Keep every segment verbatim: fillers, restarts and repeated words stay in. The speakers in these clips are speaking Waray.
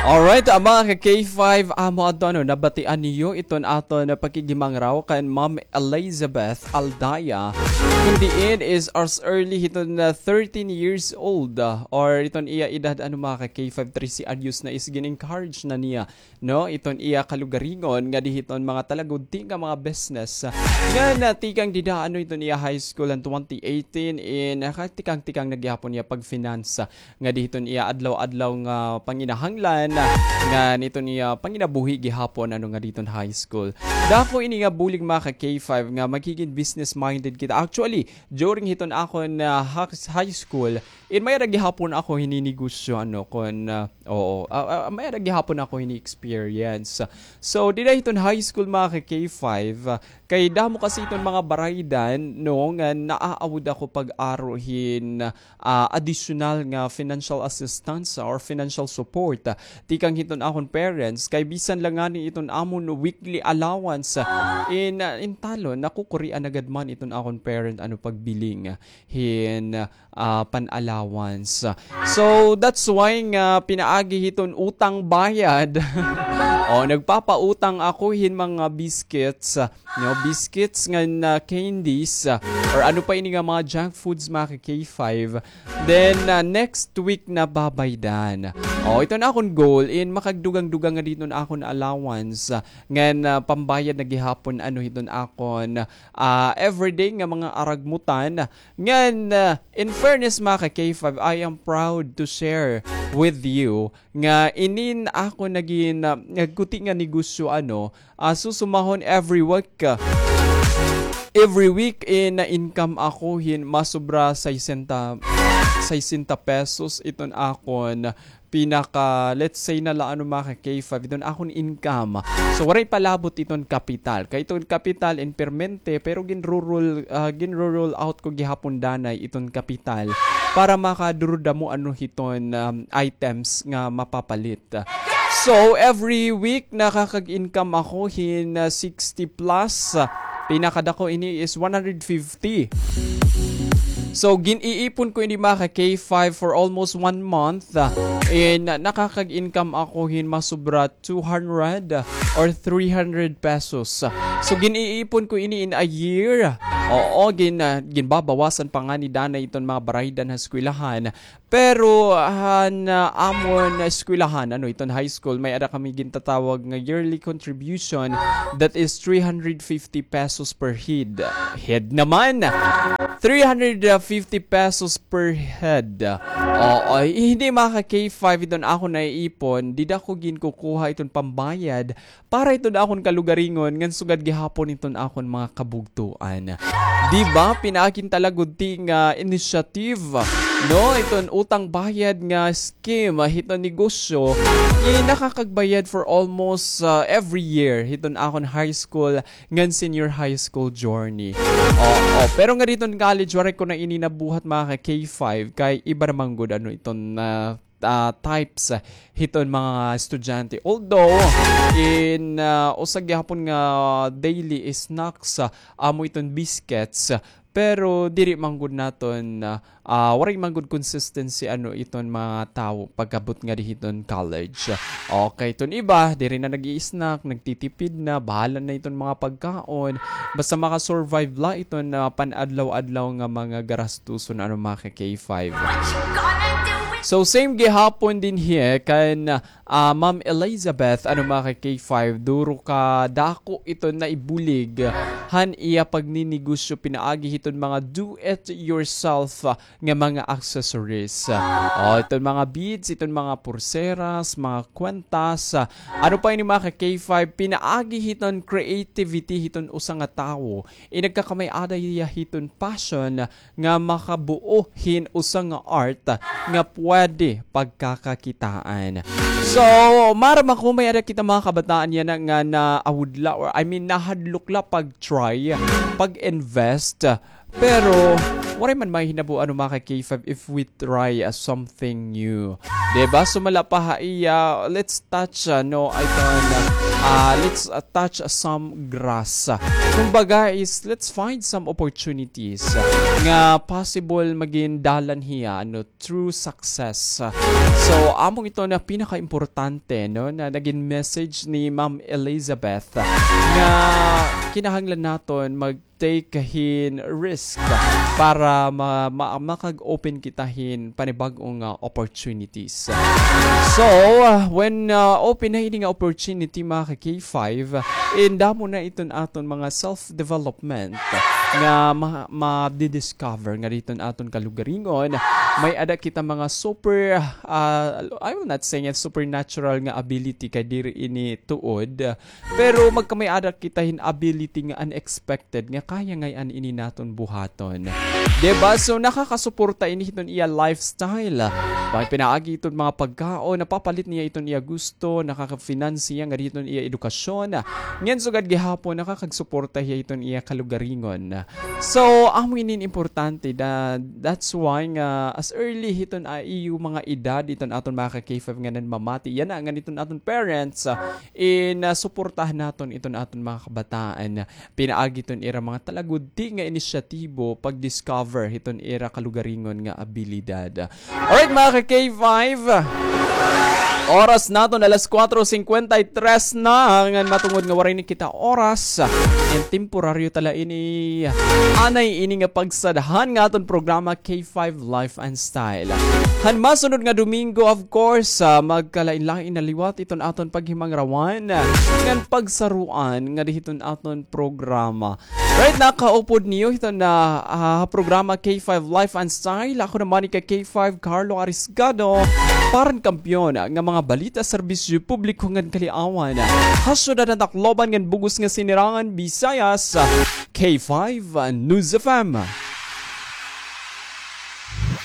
Alright, ah, mga ka K five, amo adto, ano, nabatian niyo iton aton pakighimangraw kan Ma'am Elizabeth Aldaya. Kun diin is as early hiton, ah, thirteen years old, ah, or iton iya edad, ano, mga ka K five, trese anyos na is gin-encourage na niya, no, iton iya kalugaringon ngadi hiton mga talagudti nga mga business. Ngan, ah, tikang dida, ano, iton iya high school han twenty eighteen in, ah, tikang-tikang na gihapon iya pag-finance ngadi hiton iya adlaw-adlaw nga panginahanglan, ngan iton iya panginabuhi gihapon, ano, ngadi hiton high school. Dako ini nga bulig, mga ka K five, nga magigin business-minded kita. Actually, during hiton akon, ah, ha-, high school, in may-ada gihapon ako hininegosyo, ano, kon, ah, oo, ah, ah, may-ada gihapon ako hini-experience. So, dida hiton high school, mga ka K five, ah, kay damo kasi iton mga baraydan, no, nga naaawod ako pag-aro hin, ah, additional nga financial assistance or financial support, ah, tikang hiton akon parents, kay bisan la ngani iton amon weekly allowance, ah, in, ah, in talon, nakukurian na gad man iton akon parent, ano, pagbiling hin, ah, pan-allowance. So, that's why nga pinaagi hiton utang bayad. O, nagpapautang ako hin mga biscuits, no, biscuits ngan candies, ah, or ano pa ini nga mga junk foods, mga ka K five. Then, ah, next week na babaydan. O, iton akon goal in makagdugang-dugang ngadi hiton akon allowance, ah, ngan, ah, pambayad na gihapon, ano, hiton akon, ah, everyday nga mga aragmutan. Ngan, ah, in fairness, mga ka K five, I am proud to share with you nga inin ako nagin, ah, nagkuti nga negosyo, ano, ah, susumahon every week, ah, every week in income ako hin masobra sesenta, sesenta pesos iton akon pinaka, let's say na la, ano, mga ka K five, iton akon income. So, waray pa labot iton kapital. Kay iton kapital in permente, pero ginro-roll, ah, ginro-roll out ko gihapon danay iton kapital para makadurudamo, ano, hiton, um, items nga mapapalit. So, every week nakakag-income ako hin, ah, sixty plus. Pinakadako ini is one hundred fifty. So, gin-iipon ko ini, mga ka K five, for almost one month, ah, and nakakag-income ako hin masobra two hundred or three hundred pesos. So, gin-iipon ko ini in a year. Oo, gin-, ah, ginbabawasan pa ngani danay iton mga baraydan ha eskwelahan. Pero han, ah, amon eskwelahan, ano, iton high school, may-ada kami gintatawag nga yearly contribution, that is three hundred fifty pesos per head. Head naman! Three hundred fifty pesos per head. Oo, hindi, mga ka K five, iton akon naiipon, dida ko ginkukuha iton pambayad para iton akon kalugaringon ngan sugad gihapon iton akon mga kabugtoan. Di ba, pinaagi hin talagudti nga initiative, no? Iton utang bayad nga scheme, ah, hiton negosyo, eh, nakakagbayad for almost, ah, every year hiton akon high school ngan senior high school journey. Oo, pero ngadi hiton college, waray ko na ini nabuhat, mga ka K five, kay iba naman gud, ano, iton, ah, ah, types, ah, hiton mga estudyante. Although, in, ah, usa gihapon nga daily snacks, ah, amo iton biscuits, ah, pero diri man gud naton, ah, ah, waray man gud consistency, ano, iton mga tawo pag-abot ngadi hiton college. Okay, iton iba, diri na nag-i-snack, nagtitipid na, bahala na iton mga pagkaon. Basta maka-survive la iton, ah, pan-adlaw-adlaw nga mga garastuson, ano, mga ka K five. So, same gihapon dinhi kan, ah, Ma'am Elizabeth, ano, mga ka K five, duro ka dako iton naibulig han iya pagninegosyo pinaagi hiton mga do it yourself, ah, nga mga accessories. O, iton mga beads, iton mga pulseras, mga kwentas, ah, ano pa ini, mga ka K five, pinaagi hiton creativity hiton usa nga tawo. Inagkakamay-ada hiya hiton passion nga makabuo hin usa nga art nga pwede pagkakakitaan. So, maaram ako may-ada kita mga kabataan yana nga naawod la, or I mean, nahadlok la pag-try, pag-invest. Pero, waray man mahinabo, ano, mga ka K five, if we try, ah, something new. Di ba? Sumala pa ha iya, let's touch, ah, no, iton, ah, Ah, let's, ah, touch some grass. Kumbaga is, let's find some opportunities nga possible magin dalan hiya, ano, through success. So, amo ito na pinakaimportante, no, na nagin message ni Ma'am Elizabeth nga kinahanglan naton mag take hin risk para ma-, ma-, makag-open kita hin panibag-o nga opportunities. So, uh, when, uh, open na ini nga opportunity, mga ka-K five, indamo na iton aton mga self-development nga ma-, ma-discover nga diton aton kalugaringon. May-ada kita mga super, uh, I will not say nga supernatural nga ability kay diri ini tuod, pero magkamay-ada kita hin ability nga unexpected nga kaya ngay-an ini naton buhaton. Di ba? So, nakakasuporta ini hiton iya lifestyle. Pag pinaagi iton mga pagkaon, napapalit niya iton iya gusto, nakaka-finance niya nga diton iya edukasyon. Ngan sugad gihapon, nakakagsuporta hiya hiton iya kalugaringon. So, amo ini importante da, that's why nga as early hiton a iyo mga edad, iton aton mga ka-K five nga nanmamati, yana nga niton aton parents, ah, in, ah, suportahan naton iton aton mga kabataan pinaagi iton ira mga talagudi nga inisyatibo pag-discover hiton ira kalugaringon nga abilidad. Alright, mga ka-K five. Oras naton alas kuwatro singkwenta y tres na, ngan matungod nga waray ni kita oras, ngan temporaryo ta la ini, anay ini nga pagsadhan nga aton programa K five Life and Style. Han masunod nga Domingo, of course, ah, magkalain-lain na liwat iton aton paghimangrawan ngan pagsaruan nga dihiton aton programa. Right, nakaupod niyo hiton, ah, programa K five Life and Style. Ako naman ika K five Carlo Arisgado, para han kampiyon nga mga balita, serbisyo publiko ngan kaliawan ha syudad han Tacloban ngan bug-os nga sinirangan Visayas, K five News F M.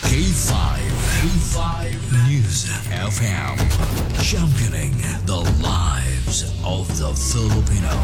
K five, K five News F M, championing the lives of the Filipino.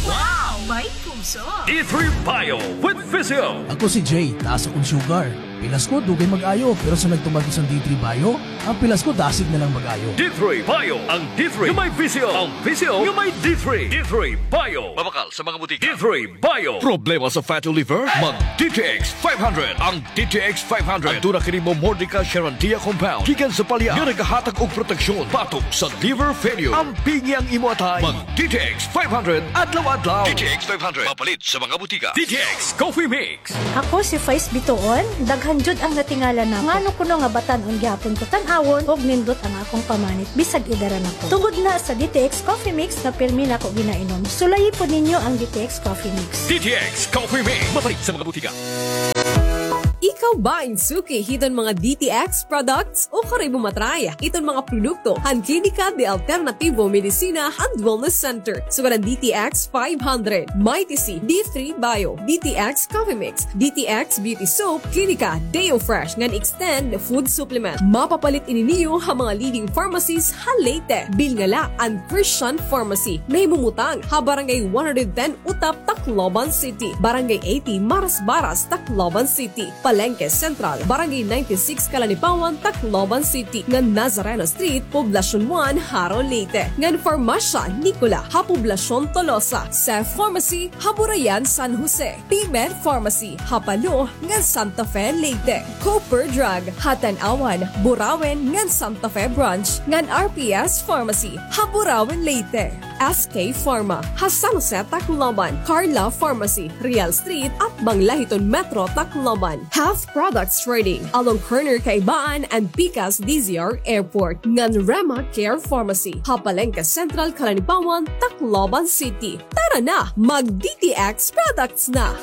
Wow! May puso! D three Bio with Visio. Ako si Jay, taas akon sugar. Pilas ko, dugay mag-ayo, pero sa nagtuman ko sa D three Bio, ang pilas ko dasig na lang mag-ayo. D three Bio, ang D three nga may Visio, ang Visio nga may D three. D three Bio. Mabakal sa mga butika. D three Bio. Problema sa fatty liver? Mag D T X five hundred. Ang D T X five hundred. Aduna kini Momordica charantia compound gikan sa palya nga nagahatag og proteksyon batok sa liver failure. Ampingi ang imo atay. Mag D T X five hundred adlaw-adlaw. D T X five hundred. Mapalit sa mga butika. D T X Coffee Mix. Ako si Faiz Bituon, daghan jud ang natingala nako. Ngano kuno nga batan-on gihapon ko tan-awon ug nindot ang akong pamanit bisag edara na ko. Tungod na sa D T X Coffee Mix na pirmi nako ginainom. Sulayi pod ninyo ang D T X Coffee Mix. D T X Coffee Mix. Mapalit sa mga butika. Ikaw ba in suki hiton mga D T X products? Ukari mo matry iton mga produkto han Klinika de Alternativo Medicina and Wellness Center. Sugad an D T X five hundred, Mighty C, D three Bio, D T X Coffee Mix, D T X Beauty Soap, Klinika Deo Fresh ngan Extend Food Supplement. Mapapalit ini niyo ha mga leading pharmacies ha Leyte. Bilngala an Christian Pharmacy. Nahimumutang ha Barangay one hundred ten Utap, Tacloban City, Barangay eighty Marasbaras, Tacloban City, Palengke Central, Barangay ninety-six Kalanipawan, Tacloban City, ngan Nazareno Street, Poblacion one, Jaro, Leyte, ngan Farmasya Nicola ha Poblacion Tolosa, Seth Pharmacy ha Burayan, San Jose, P-Med Pharmacy ha Palo ngan Santa Fe, Leyte, Cooper Drug ha Tanauan, Burauen ngan Santa Fe Branch, ngan R P S Pharmacy ha Burauen, Leyte. S K Pharma ha San Jose, Tacloban, Carla Pharmacy, Real Street, atbang la hiton Metro Tacloban, Health Products Trading along corner Kaibaan and Pikas D Z R Airport, ngan Rema Care Pharmacy ha Palengke Central, Kalanipawan, Tacloban City. Tara na, mag D T X products na!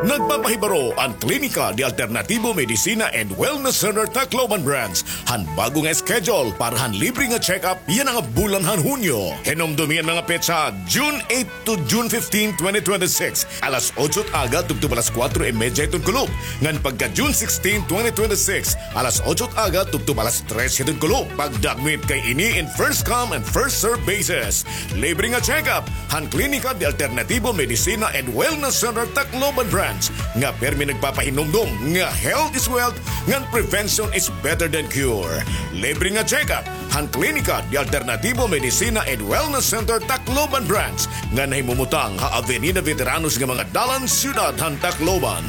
Nagpapahibaro an Klinika de Alternativo Medicina and Wellness Center Tacloban Branch han bag-o nga schedule para han libre nga check-up yana nga bulan han Hunyo. Hinumdomi an mga petsa, June eight to June fifteen, twenty twenty-six, alas otso aga tubtob alas kuwatro y medya hiton kulop, ngan pagka June sixteen, twenty twenty-six, alas otso aga tubtob alas tres hiton kulop. Pagdakmit kay ini in first come and first serve basis. Libre nga check-up han Klinika de Alternativo Medicina and Wellness Center Tacloban Branch. nga pirmi nagpapahinumdom nga health is wealth, ngan prevention is better than cure. Libre nga check-up han Klinika de Alternativo Medicina and Wellness Center Tacloban Branch nga nahimumutang ha Avenida Veteranos nga mga dalan, siyudad han Tacloban.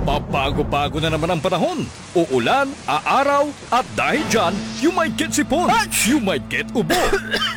Pabago-bago na naman ang panahon. Uulan, aaraw, at dahil dyan, you might get sipon, you might get ubo,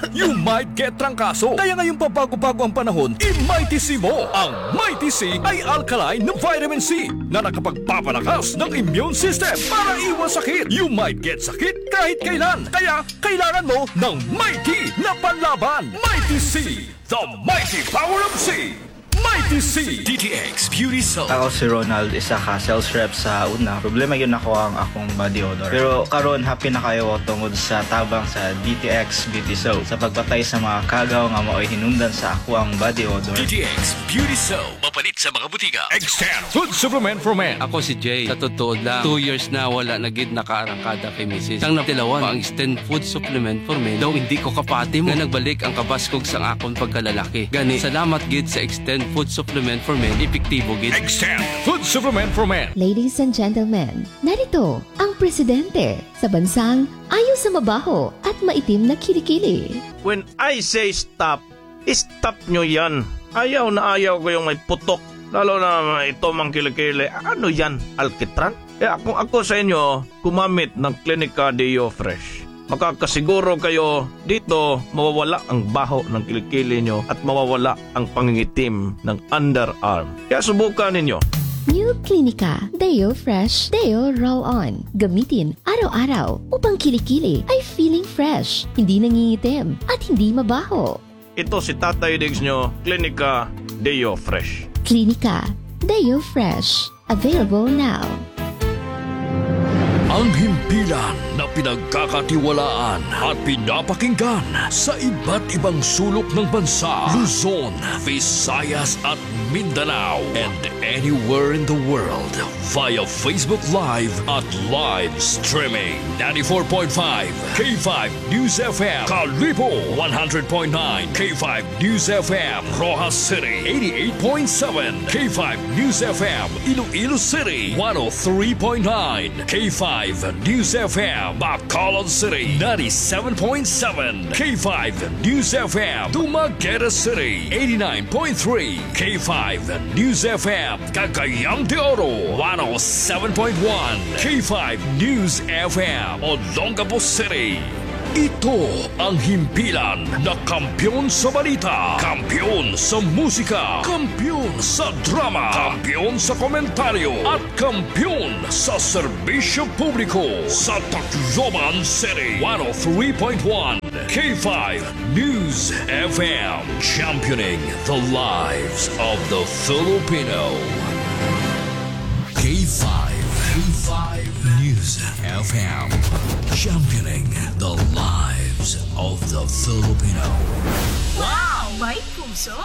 you might get trangkaso. Kaya ngayong pabago-bago ang panahon, i-Mighty C mo. Ang Mighty C ay alkaline na vitamin C na nakapagpapalakas ng immune system para iwas sakit. You might get sakit kahit kailan. Kaya kailangan mo ng Mighty na panlaban. Mighty C, the mighty power of C. Mighty C. D T X Beauty Soap. Ako si Ronald, isa ka sales rep sa una. Problema gyud nako ang akong body odor. Pero karon, happy na kaayo ko tungod sa tabang sa D T X Beauty Soap. Sa pagpatay sa mga kagaw nga maoy hinungdan sa akoang body odor. D T X Beauty Soap. Mapalit sa mga butika. Extend Food Supplement for Men. Ako si Jay. Sa totoo lang, two years na wala na gid nakaarangkada kay misis. Sang natilawan pa ang Extend Food Supplement for Men, daw hindi ko kapati mo nga nagbalik ang kabaskog sang akon pagkalalaki. Gani, salamat gid sa Extend Food Supplement for Men, epektibo gid. Extend Food Supplement for Men. Ladies and gentlemen, narito ang presidente sa bansang ayaw sa mabaho at maitim na kilikili. When I say stop, stop nyo yan. Ayaw na ayaw ko yung may putok. Lalo na ito, mga kilikili. Ano yan? Alkitran? Kaya kung ako sa inyo, gumamit ng Clinica Deo Fresh. Makakasiguro kayo dito, mawawala ang baho ng kilikili nyo at mawawala ang pangingitim ng underarm. Kaya subukan ninyo. New Clinica Deo Fresh Deo Roll On. Gamitin araw-araw upang kilikili ay feeling fresh, hindi nangingitim, at hindi mabaho. Ito si Tatay Diggs nyo, Clinica Deo Fresh. Clinica Deo Fresh. Available now. Ang himpilan na pinagkakatiwalaan at pinapakinggan sa iba't ibang sulok ng bansa, Luzon, Visayas at Mindanao, and anywhere in the world via Facebook Live at live streaming. Ninety-four point five K five News F M, Kalibo, one hundred point nine K five News F M, Roxas City, eighty-eight point seven K five News F M, Iloilo City, one oh three point nine K five News F M, Bacolod City, ninety-seven point seven K five News F M, Dumaguete City, eighty-nine point three K five News F M, Cagayan de Oro, one oh seven point one K five News F M, Olongapo City. Ito ang himpilan na kampiyon sa balita, kampiyon sa musika, kampiyon sa drama, kampiyon sa komentaryo, at kampiyon sa serbisyo publiko sa Tacloban City, one oh three point one K five News F M, championing the lives of the Filipino. K five, K five News F M, championing the lives of the Filipino. Wow! May puso!